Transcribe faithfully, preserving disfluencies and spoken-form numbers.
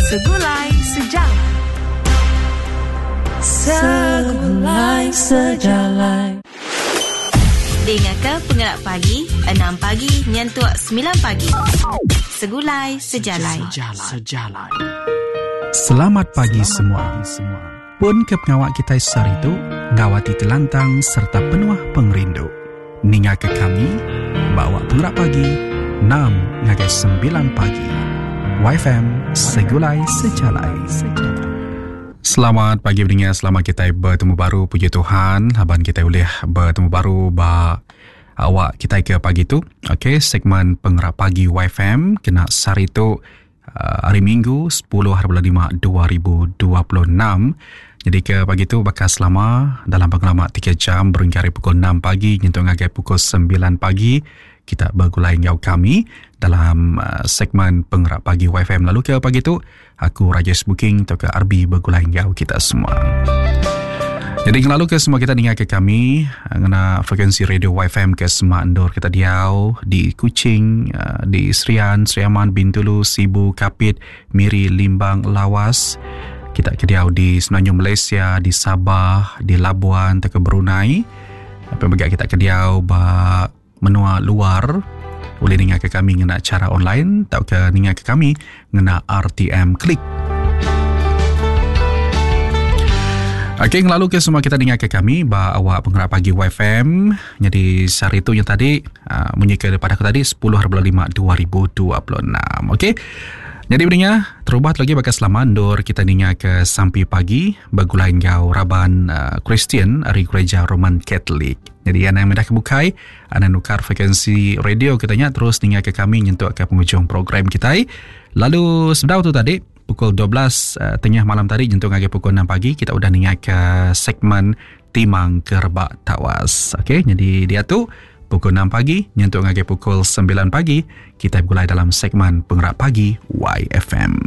Segulai Sejalai. Segulai Sejalai. Dingaka Pengelap Pagi, enam pagi nyentuk semilan pagi. Segulai Sejalai. Sejalai. Selamat pagi semua. Pun ke pengawa kitai sehari tu enggau ati ti lantang sereta penuh pengerindu. Ningaka kami ba awak Pengerak Pagi enam ngagai semilan pagi. Y F M Segulai Sejalai. Selamat pagi pendengar, selamat kita bertemu baru. Puji Tuhan, laban kita boleh bertemu baru ba awak kita ke pagi tu. Okey, segmen Pengerak Pagi Y F M kena sehari tu uh, hari Minggu sepuluh hari bulan lima dua ribu dua puluh enam. Jadi ke pagi tu bakal selama dalam pengelama tiga jam berengkah ari pukul enam pagi nyentuk ngagai pukul semilan pagi kita bergulai enggau kami dalam uh, segmen Pengerak Pagi Y F M. Lalu ke pagi tu aku Rajesh Booking atau ke R B bergulai enggau kita semua. Jadi lalu ke semua kita dengar ke kami uh, ngena frekuensi radio Y F M ke semua endur kita diau di Kuching, uh, di Serian, Sri Aman, Bintulu, Sibu, Kapit, Miri, Limbang, Lawas. Kita ke diau di Semenanjung Malaysia, di Sabah, di Labuan, atau ke Brunei. Apa mega kita ke diau ba menua luar boleh dengar ke kami ngena cara online atau ke dengar ke kami ngena R T M Klik. Okey, lalu ke semua kita dengar ke kami ba awak Penggerak Pagi Y F M. Jadi sehari tu yang tadi uh, munyi ke daripada aku tadi sepuluh bulan lima dua ribu dua puluh enam. Okey. Jadi pendengar, terubah lagi bakal selama endur kita dengar ke sampi pagi bergulai enggau raban uh, Kristian ari Gereja Roman Catholic. Jadi anda yang mudah kebukai, anda nukar frekuensi radio kitanya terus dengar ke kami nyentuk ke penghujung program kita. Lalu sebedau tu tadi pukul dua belas uh, tengah malam tadi nyentuk ngagai pukul enam pagi kita udah dengar ke segmen Timang Kerebak Tawas. Okey, jadi dia tu pukul enam pagi nyentuk ngagai pukul semilan pagi kita bergulai dalam segmen Pengerak Pagi Y F M.